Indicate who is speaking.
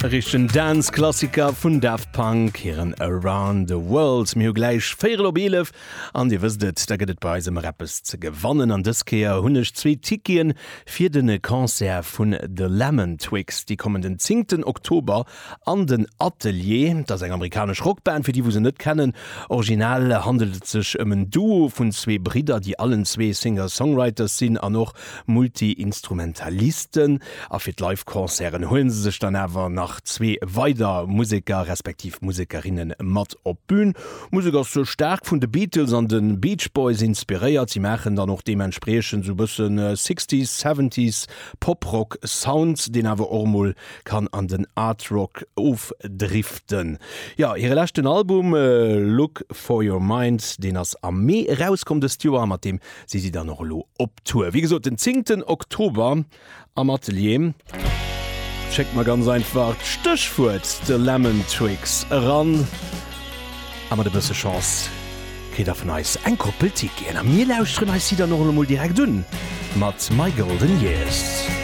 Speaker 1: E richtegen Dance-Klassiker vun Daft Punk, hiren Around the World. Mir hu gläich véierel op 11 an Dir wësst et, da gëtt et bei eis ëmmer eppes ze gewannen. An dës Kéier hunn ech zwee Ticketen fir de Concert vun The Lemon Twigs. Déi kommen den zéngten Oktober an den Atelier. Dat ass eng amerikanesch Rockband, fir déi wou se net kennen. Original handelt et sech ëm en Duo vun zwee Bridder, déi allen zwee Singer-Songwriters sinn an och Multi-Instrumentalisten. A fir d'Live-Concerten huele se sech dann awer nach zwee weider Museker respektiv Musekerinne mat op d'Bün. D'Musek ass staark vun de Beatles an de Beach Boys inspiréiert. Si maachen dann och deementspriechend sou bësse Sixties, Seventies Pop-Rock Sound, deen awer och emol kann an den Art Rock ofdriften. Jo, hire leschten Album Look For Your Mind, deen ass am Mee erauskomm dëst Joer a mat deem si si dann och elo op Tour. Wéi gesot, den zéngten Oktober am Atelier. Schéckt mer ganz einfach d'Stéchwuert The Lemon Twigs eran a mat e bësse Chance kritt der vun eis eng Koppel Ticketen. A mir lauschteren eis si dann och elo mol direkt un mat My Golden Years.